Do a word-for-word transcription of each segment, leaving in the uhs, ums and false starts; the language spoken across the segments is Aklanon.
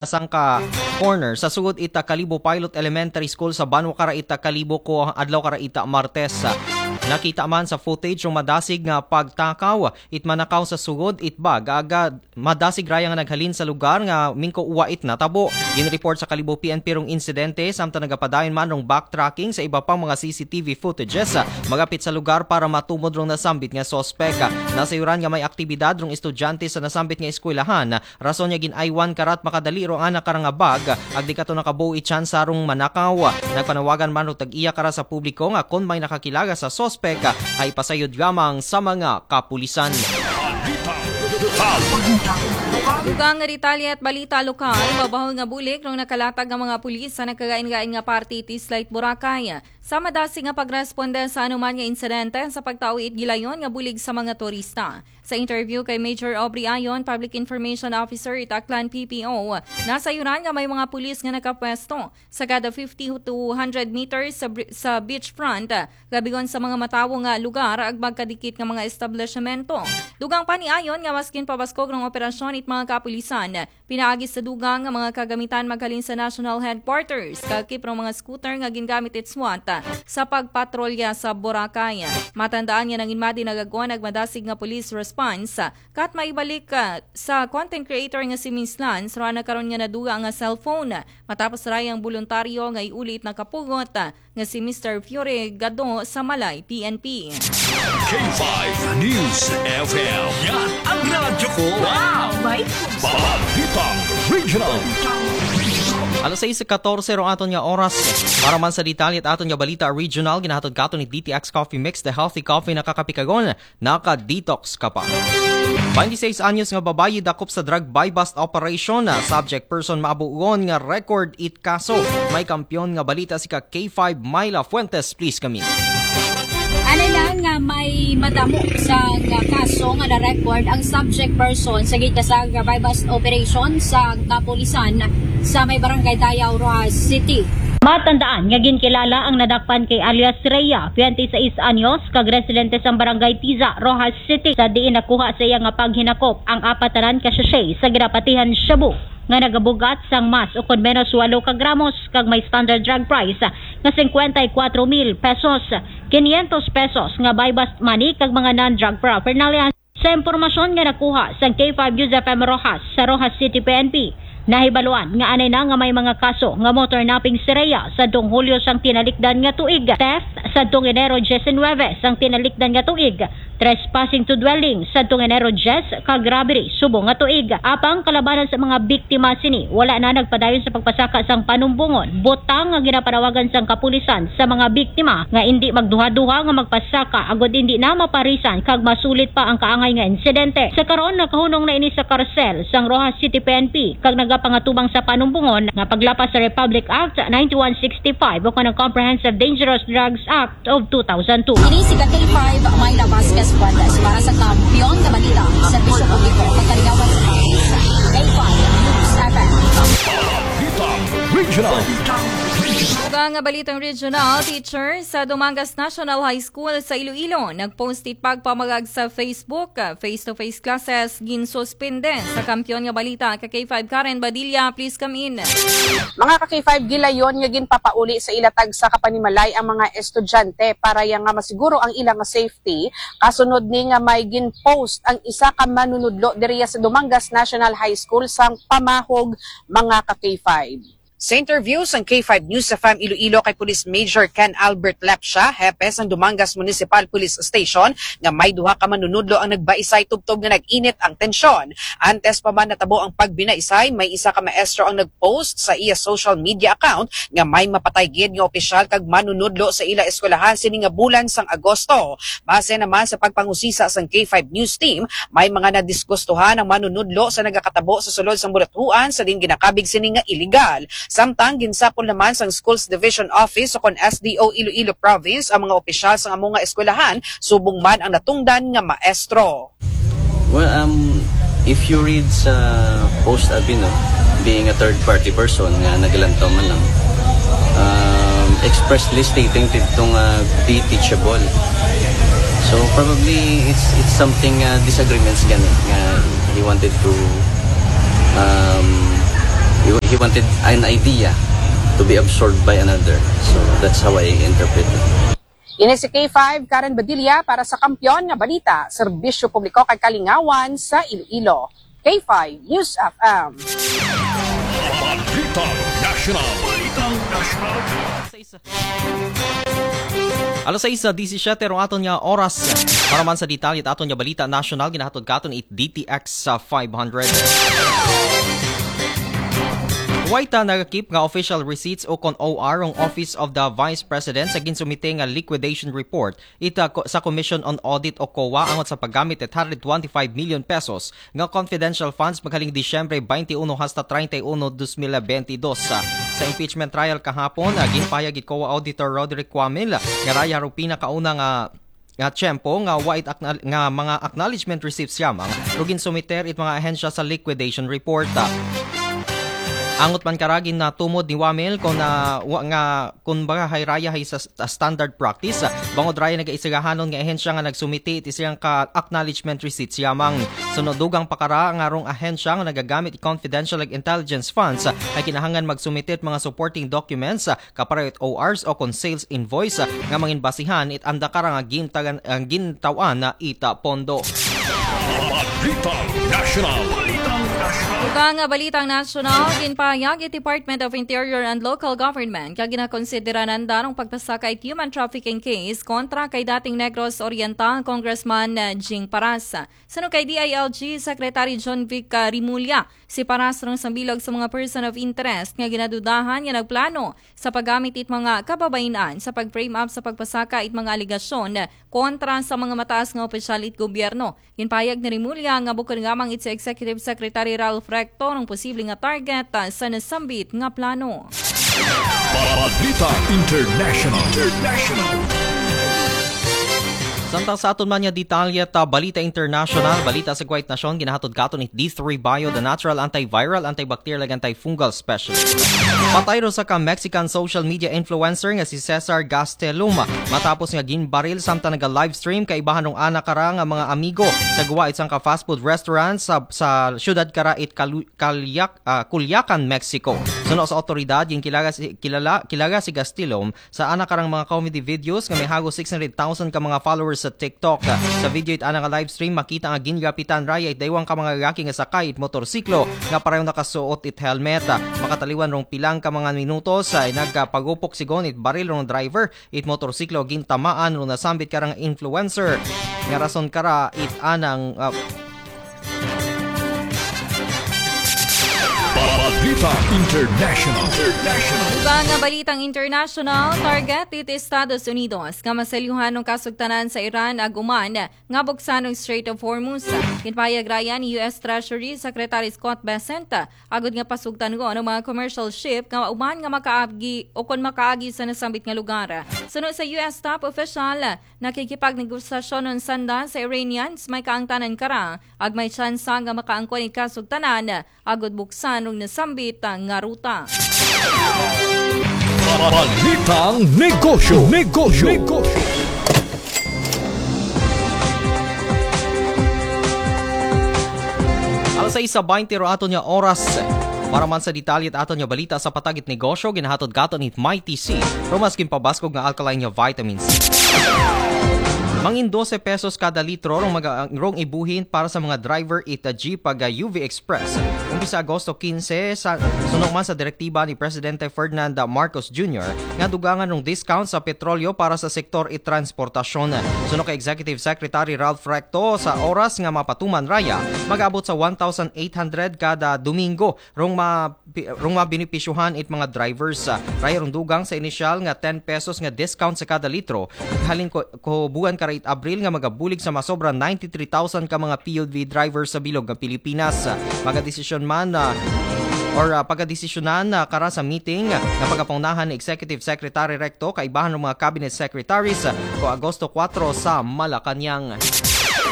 sangka corner sa sugod ita Kalibo Pilot Elementary School sa banwa kara ita Kalibo ko adlaw kara ita Martes. Nakita man sa footage rong madasig nga pagtakaw it manakaw sa sugod it bag, aga madasig raya nga naghalin sa lugar nga mingko uwa it natabo. Ginreport sa Kalibo P N P rong insidente, samtang nagapadayon man rong backtracking sa iba pang mga C C T V footages magapit sa lugar para matumod rong nasambit nga suspek. Nasayuran nga may aktibidad rong estudyante sa nasambit nga eskwelahan, rason nga gin-aywan karat makadali ro ana kara nga bag, agdi kato nakabuo it tsansa rong manakaw. Nagpanawagan man ro tag-iya kara sa publiko nga kon may nakakilala sa suspek, ay pasayod lamang sa mga kapulisan. Dugang nga detalye at balita lokal, babahul nga bulig rong nakalatag nga mga pulis sa nagkagain-gain nga parte iti Slight Boracay. Sa madasig nga pagresponde sa anuman nga insidente sa pagtao it gilayon nga bulig sa mga turista. Sa interview kay Major Aubrey Ayon, Public Information Officer it Aklan P P O, nasayuran nga may mga pulis nga nakapwesto sa kada fifty to hundred meters sa, bri- sa beachfront, gabigon sa mga matawo nga lugar ag magkadikit nga mga establishmento. Dugang pa ni Ayon nga maskin pabaskog rong operasyon it mga kapulisan, pinaagi sa dugang nga mga kagamitan maghalin sa National Headquarters, kakip rong mga scooter nga gingamit it SWAT sa pagpatrolya sa Boracay. Matandaan nga nanginmadi nagagon ag madasig nga police response, kat maibalik ah, sa content creator nga si Miss Lance, rana karon nga naduga nga cellphone. Matapos rayang boluntaryo nga iuli it nakapugot ah, nga si Mister Fury Gado sa Malay P N P. K five News F M. Yan ang radyo ko. Wow! Balitang Regional. Alas sais katorse ro aton nga oras. Para man sa detalye at aton nga balita regional, ginahatod katon ni D T X Coffee Mix, the healthy coffee nakakapikagon, naka-detox ka pa. Twenty-six anyos nga babayi dakop sa drug buy-bust operation na subject person, maabugon nga record it kaso. May kampiyon nga balita si ka K five Myla Fuentes, please kami. Ano lang nga may madamo sa nga kaso nga na-record ang subject person sa gitna sa buy-bust operation sa kapulisan sa may barangay Dayaw, Roxas City. Matandaan nga ginkilala ang nadakpan kay alias Rhea, twenty-sais anyos, kag residente sa barangay Tiza, Roxas City, sa diin nakuha sa iya nga paghinakop ang apatanan ka sachet sa ginapatihan shabu nga nagabugat sang mas ukon menos walo ka gramos kag may standard drug price nga singkwenta y kwatro mil pesos, kinyentos pesos nga buy-bust money kag mga non-drug paraphernalia. Sa impormasyon nga nakuha sang K five News F M Roxas sa Roxas City P N P, nahibaluan nga anay na nga may mga kaso nga motor napping si Rhea sa dong Hulyo sang tinalikdan nga tuig, theft sa dong Enero diecinuebe sang tinalikdan nga tuig, trespassing to dwelling sa dong Enero diyes, kag robbery subong nga tuig. Apang kalabanan sa mga biktima sini, wala na nagpadayon sa pagpasaka sang panumbongon, butang nga ginapanawagan sang kapulisan sa mga biktima nga indi magduha-duha nga magpasaka agod indi na maparisan kag masulit pa ang kaangay nga insidente. Sa karon, nakahunong na ini sa karsel sang Roxas City P N P kag nagapangatubang sa panumbongon nga paglapas sa Republic Act ninety-one sixty-five o kanang Comprehensive Dangerous Drugs Act of two thousand two. Ini si K five Myla Vasquez Fuentes para sa Kampiyon nga Balita, Serbisyo Publiko, Pagkaligawan sa Paris, K five News F M. Balitang Regional. Dugang nga balitang regional, teacher sa Dumangas National High School sa Iloilo nagpost it pagpamagag sa Facebook, ah, face-to-face classes ginsuspende. Sa Kampiyon nga Balita, ka K five Karen Badilla, please come in. Mga ka K five, gilayon nga ginpapauli sa ila tagsa ka panimalay ang mga estudyante para ya nga masiguro ang ila nga safety. Kasunod ni nga may gin-post ang isa ka manunudlo diriya sa Dumangas National High School sang pamahog, mga ka K five. Sa interview sang K five News F M Iloilo kay Police Major Ken Albert Lepcia, hepe sang Dumangas Municipal Police Station, nga may duha ka manunudlo ang nagbaisay tubtob nga nag-init ang tensyon. Antes pa man natabo ang pagbinaisay, may isa ka maestro ang nag-post sa iya social media account nga may mapatay gid nga opisyal kag manunudlo sa ila eskwelahan sini nga bulan sang Agosto. Base naman sa pagpangusisa sang K five News Team, may mga nadisgustuhan ang manunudlo sa nagakatabo sa sulod sang buluthuan sa diin ginakabig sini nga iligal. Samtang ginsapol naman sang Schools Division Office o kon S D O Iloilo Province ang mga opisyal sang amo nga eskwelahan, subong man ang natungdan nga maestro. Well, um, if you read sa post abi, no, being a third party person nga naglantaw man lang, um, expressly stating didto nga be teachable. So probably it's it's something, uh, disagreements gani nga he wanted to, um, He, he wanted an idea to be absorbed by another. So that's how I interpret it. Ini si K five, Karen Badilla para sa Kampiyon nga Balita, Serbisyo Publiko kag Kalingawan sa Iloilo. K five News F M. Balitang National. Balitang National. Alas sais disisiete rong aton nga oras. Para man sa detalye aton nga balita nasyonal, ginahatod katon it D T X sa five hundred. Way ta nagakip nga official receipts o kon O R ang Office of the Vice President sa ginsumite nga liquidation report ita ko- sa Commission on Audit o COA angot sa paggamit it one hundred twenty-five million pesos nga confidential funds maghaling Disyembre twenty-one hasta treinta y uno, dos mil veintidós. Sa, sa impeachment trial kahapon, ah, ginpahayag it COA Auditor Roderick Cuamil nga raya rong pinakauna nga nga tiyempo nga wa it acknowl- nga mga acknowledgement receipts yamang, pero ginsumiter it mga ahensya sa liquidation report. Angot man karagi na tumod ni Wamil kung na, wa, nga kung baga hay raya hay sa st- standard practice, bangod raya nagaisagahanon nga ahensya nga nagsumiti iti siyang ka acknowledgement receipts yamang. Sunod dugang pakara nga rong ahensya nga nagagamit it confidential ag intelligence funds ay kinahangan magsumiti it mga supporting documents, kapareho it O Rs o kon sales invoice, nga mangin basihan it anda kara nga gintagan, ang gintawan na ita pondo. Balitang National. Balitang National. Ug ang balitang nasyonal, ginpahayag it Department of Interior and Local Government nga ginakonsidera nanda ang pagpasaka it human trafficking case kontra kay dating Negros Oriental Congressman Jing Paras. Suno kay D I L G Secretary John Vic Rimulya, si Paras rong sambilog sa mga person of interest nga ginadudahan nga nagplano sa paggamit it mga kababain-an sa pag-frame up sa pagpasaka it mga alegasyon kontra sa mga mataas nga opisyal it gobyerno. Ginpahayag ni Rimulya nga bukod lamang it si Executive Secretary Ralph Recto ang posible nga target, ah, sa nasambit nga plano. Balita International. International. Samtang sa aton man nga detalye ta Balita International, balita sa Kuwait Nasyon, ginahatod katon it D three Bio, the natural antiviral, antibacterial, ag antifungal specialist. Patay ro sa ka Mexican social media influencer nga si Cesar Gastelum matapos nga ginbaril samtang naga-livestream kaibahan rong ana kara nga mga amigo sa guwa it sangka fast food restaurant sa, sa siyudad kara it Kalu- Kalyak, ah, Culiacan, Mexico. Suno sa otoridad, ginkilala si, kilala, kilala si Gastelum sa ana karang mga comedy videos nga may hago six hundred thousand ka mga followers sa TikTok. Sa video it ana nga livestream, makita nga gingapitan raya it daywang ka mga lalaki nga sakay it motorsiklo nga pareho nakasuot it helmet. Makataliwan rong pilang ka mga minutos ay nagpagupok sigon it baril rong driver it motorsiklo, gintamaan rong nasambit karang influencer nga rason kara it anang, ah, Balita International. International. Iba nga balitang international, target it Estados Unidos nga maselyuhan ang kasugtanan sa Iran ag Oman nga buksan ang Strait of Hormuz. Ginpahayag raya ni U S Treasury Secretary Scott Bessent, agud nga pasugtan ko ang mga commercial ship nga uman nga makaagi o kon makaagi sa nasambit nga lugar. Suno sa U S top official, nakikipagnegosasyon on sanda sa Iranians may kaangtanan kara ag may tsansa nga makaangkon it kasugtanan agud buksan ang nasambit nga ruta. Balitang Negosyo. Negosyo. Negosyo. Alas sais sa baynte ro aton nga oras. Para man sa detalye it aton nga balita sa patag it negosyo, ginahatod katon it Mighty C. Ro mas ginpabaskog nga alkaline nga vitamins. Mangin dose pesos kada litro rong, maga, rong ibuhin para sa mga driver it, ah, jeep ag, ah, U V Express. Umpisa Agosto quince, sa, suno man sa direktiba ni Presidente Ferdinand Marcos Junior nga dugangan rong discount sa petrolyo para sa sektor it transportasyon. Suno kay Executive Secretary Ralph Recto, sa oras nga mapatuman raya, mag-abot sa one thousand eight hundred kada Domingo rong ma pi- rong mabenepisyuhan it mga drivers. Ah, raya rong dugang sa inisyal nga ten pesos nga discount sa kada litro, halin ko, ko buwan kara it Abril nga magabulig sa masobra ninety-three thousand ka mga P U V drivers sa bilog nga Pilipinas. Ah, magadesisyon man, ah, or, ah, pagadesisyonan, ah, kara sa meeting, ah, nga pagapangunahan ni Executive Secretary Recto kaibahan rong mga cabinet secretaries, ah, ko Agosto kuwatro sa Malacañang.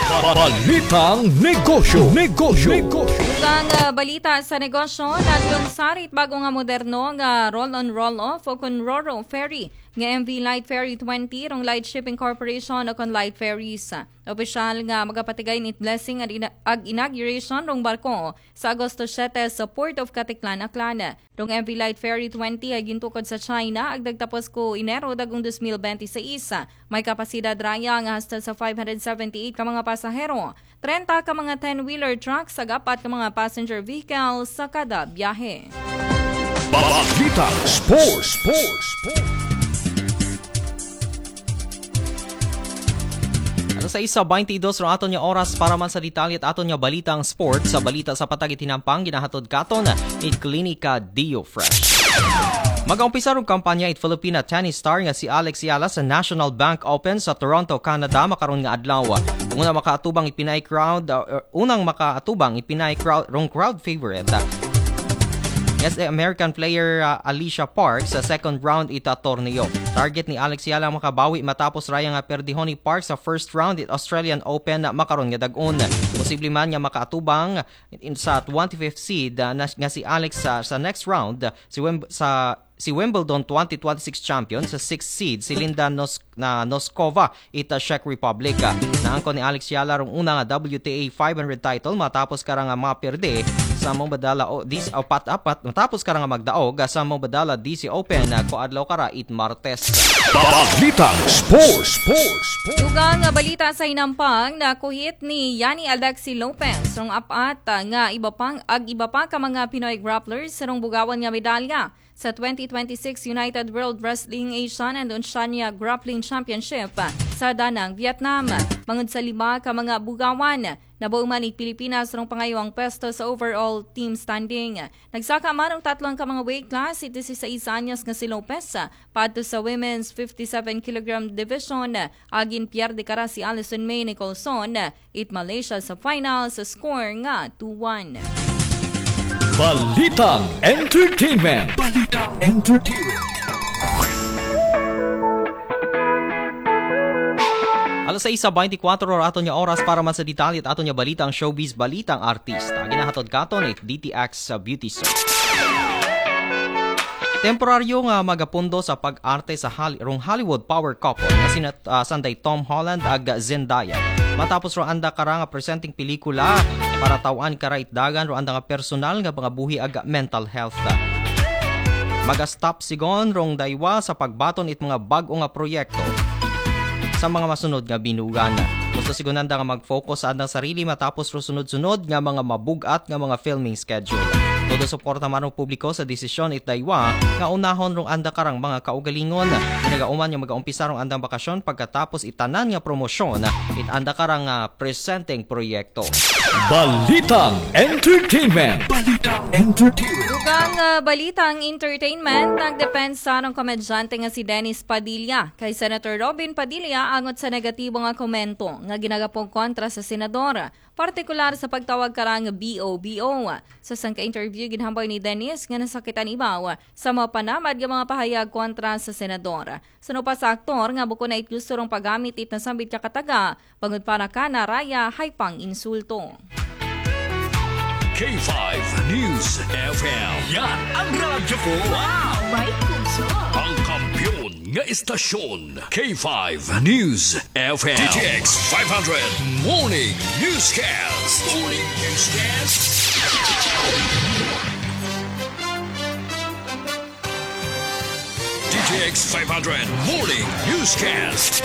Balitang negosyo. Negosyo. Negosyo. Ang ah, balita sa negosyo, naglunsar it bago nga moderno nga roll-on roll-off o kon ro-ro ferry nga M V Light Ferry twenty rong Light Shipping Corporation o kon Light Ferries. Opisyal nga magapatigay nit blessing ag ina- ag inauguration rong barko sa Agosto siete sa Port of Caticlan, Aklan. Rong M V Light Ferry twenty ay gintukod sa China ag nagtapos ko Enero dagong dos mil benti sais. May kapasidad raya nga hasta sa five hundred seventy-eight ka mga pasahero, trenta ka mga ten-wheeler trucks ag apat ka mga passenger vehicles sa kada biyahe. Balitang sports. Sports. Sports. Alas sais sa baynte dos rong aton nga oras para man sa detalye it aton nga balitang sports. Sa balita sa patag it hinampang, ginahatod katon it Klinika Dio Fresh. Mag-aumpisa rong kampanya it Filipina tennis star nga si Alex Yala sa National Bank Open sa Toronto, Canada, makaron nga adlaw. Unang makaatubang it pinaay crowd, uh, unang makaatubang it pinaay crowd rong crowd favorite, uh, nga si American player, uh, Alicia Parks sa second round ita torneo. Target ni Alex Yala makabawi matapos raya nga perdihon ni Parks sa first round it Australian Open makaron nga dag-on. Posible man nga makaatubang in sa twenty-fifth seed, uh, na, nga si Alex sa, sa next round, uh, si Wim-, sa si Wimbledon twenty twenty-six champion sa sixth seed si Linda Nos-, na Noskova ita Czech Republic. Uh, naangkon ni Alex Yala rong una nga W T A five hundred title matapos kara nga maperde sa mong badala o dis o pat apat matapos kara nga magdaog, uh, sa mong badala D C Open, uh, ko adlaw kara it Martes. Balitang sports. Sports. Sports. Dugang nga balita sa hinampang, nakuhit ni Yani Alexi Lopez rong apat ah, nga iba pang ag iba pa ka mga Pinoy grapplers sa rong bugawan nga medalya sa twenty twenty-six United World Wrestling Asian and Oceania Grappling Championship sa Danang, Vietnam. Mangud sa lima ka mga bugawan, nabuo man it Pilipinas rong pangayuang pwesto sa overall team standing. Nagsaka man ang tatlong ka mga weight class, it disisais anyos nga si Lopez, padto sa women's fifty-seven kilogram division, agin pierde kara si Alison May Nicholson, it Malaysia sa final sa score nga two one. Balitang entertainment. Balitang entertainment. Alas sais sa baynte kwatro ra aton nga oras para man sa detalye it aton nga balitang showbiz, balitang artista. Ginahatod katon it D T X sa Beauty Soap. Temporaryo nga magapundo sa pag-arte sa Hol-, rong Hollywood power couple nga sina, ah, sanday Tom Holland ag Zendaya. Matapos ro anda kara nga presenteng pelikula para taw-an kara it dagan ro anda nga personal nga mga buhi ag mental health. Maga-stop sigon rong daywa sa pagbaton it mga bag-o nga proyekto sa mga masunod nga binugan. Gusto sigon anda nga mag-focus sa andang sarili matapos ro sunod-sunod nga mga mabug-at nga mga filming schedule. Todo suporta man rong publiko sa desisyon it daywa nga unahon rong anda karang mga kaugalingon. Pinagauman nga mag-aumpisa rong andang bakasyon pagkatapos it tanan nga promosyon it anda karang, ah, presenteng proyekto. Balitang entertainment. Balitang entertainment. Dugang ah, balitang entertainment, nagdepensa rong komedyante nga si Dennis Padilla kay Senator Robin Padilla angot sa negatibo nga komento nga ginagapong kontra sa senador, partikular sa pagtawag karang B O B O. Sa sangka interview, ginhambal ni Dennis nga nasakitan ibaw sa mapanamad nga mga pahayag kontra sa senador. Suno pa sa aktor nga bukon na it gusto rong paggamit it nasambit nga kataga, bangod para kana raya hay pang-insulto. K five News F M. Yan ang radyo ko. Wow! May puso. Ang kampiyon nga istasyon. K five News F M. D T X five hundred Morning Newscast. Morning Newscast. D T X five hundred Morning Newscast.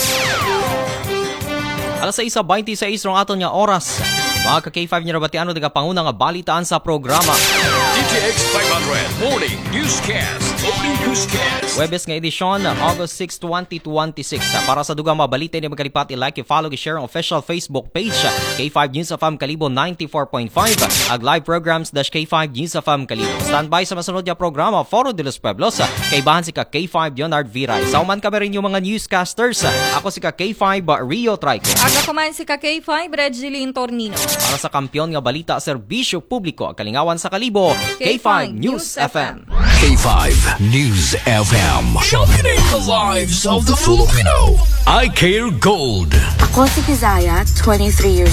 Alas sais sa baynte sais rong aton nga oras. Mga ka K five, nyo nabatian ang nagapanguna nga balitaan sa programa. D T X five hundred Morning Newscast. Morning Newscast. Webes nga edisyon, August six, twenty twenty-six. Para sa dugang mga balita, hindi magkalipat i-like, i-follow, i-share ang official Facebook page, K five News F M Kalibo ninety-four point five, ag live programs dash K five News F M Kalibo. Standby sa masunod nga programa, Foro de los Pueblos, kaibahan si ka K five Leonard Viray. Sa uman kami rin yung mga newscasters, ako si ka K five Rio Trico. Ag ako man si ka K five Regiline Tornino. Para sa kampiyon nga balita, serbisyo publiko, ag kalingawan sa Kalibo, K five News F M. K five News F M. Sharpening the lives of the Filipino. Eye Care Gold. Ako si Kazaya, twenty-three years